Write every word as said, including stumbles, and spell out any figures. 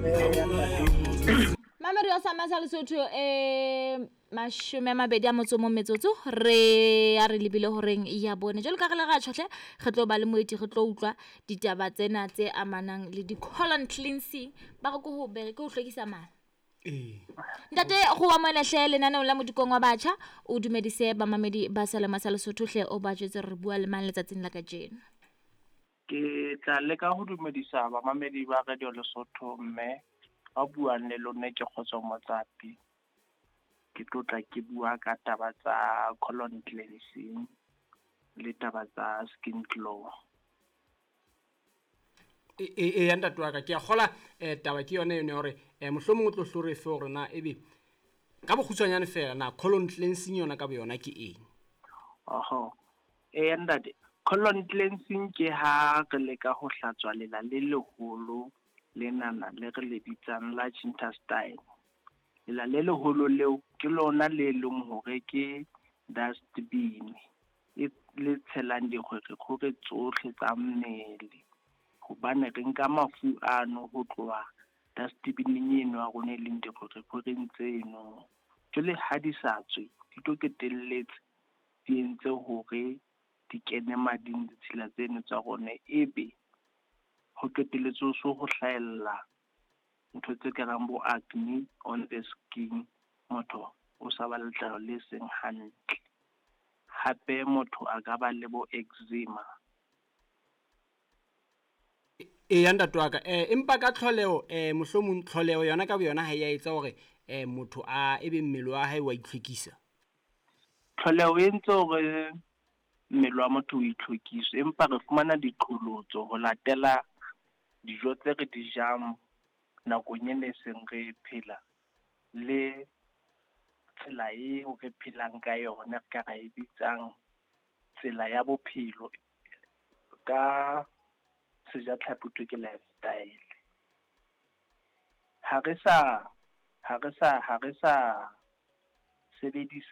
Mme ya ntate. Mamedi wa Sama sa Lesotho, um mashome a mabedi a motso o mong metsotso re a re lebile horeng ya bone. Jwalo ka re le ra tjhohle, re tlo ba le moeti, re tlo utlwa ditaba tsena tse amanang le di-colon cleansing. Ba re ke ho bere ke ho hlwekisa mala. Ee. Ntate, go wa moelehle lenaneong la Modikong wa Batjha, o dumedise bamamedi ba Selema sa Lesotho hle, o ba jwetse re bua le mang letsatsing la kajeno. Ke tla leka ho dumedisa bamamedi ba Radio Lesotho, mme ba buang le lona ke Kgotso Motsapi. Ke tlotla ke bua ka taba tsa colon cleansing le taba tsa skin glow. E e ya ntate wa ka, ke a kgola eh taba ke yona eno ya hore eh mohlomong o tlo hlo re fe hore na ebe ka bokgutshwanyane fela na colon cleansing yona ka boyona ke eng. Oho. Eh ntate, colon cleansing ke ha re leka ho hlatswa lela le leholo lenana le re le bitsang large intestine. Lela le leholo leo ke lona le leng hore ke dustbin e le tshelang dikgwerekgwere tsohle tsa mmele, hobane re nka mafu ano ho tloha dustbin-eng eno ya rona e leng dikgwerekgwereng tseno. Jwale ha di sa tswe, di tlo qetelletse di entse hore di kene mading ditshila tseno tsa rona, ebe ho qetelletse ho so ho hlahella ntho tse kareng bo acne on the skin, motho o sa ba letlalo le seng hantle. Hape motho a ka ba le bo eczema. E ya ntate wa ka, eh empa ka tlholeho, eh mohlomong tlholeho yona ka boyona ha ya etsa hore eh motho a ebe mmele wa hae wa itlhwekisa. Tlholeho e entse hore mmele wa motho o itlhwekise, empa re fumana diqholotso ho latela dijo tse re di jang nakong ena e seng re phela, le tsela eo re phelang ka yona, re ka ra e bitsang tsela ya bophelo, ka sejatlhapi ho thwe ke lifestyle. Ha re sa, ha re sa, ha re sa sebedisa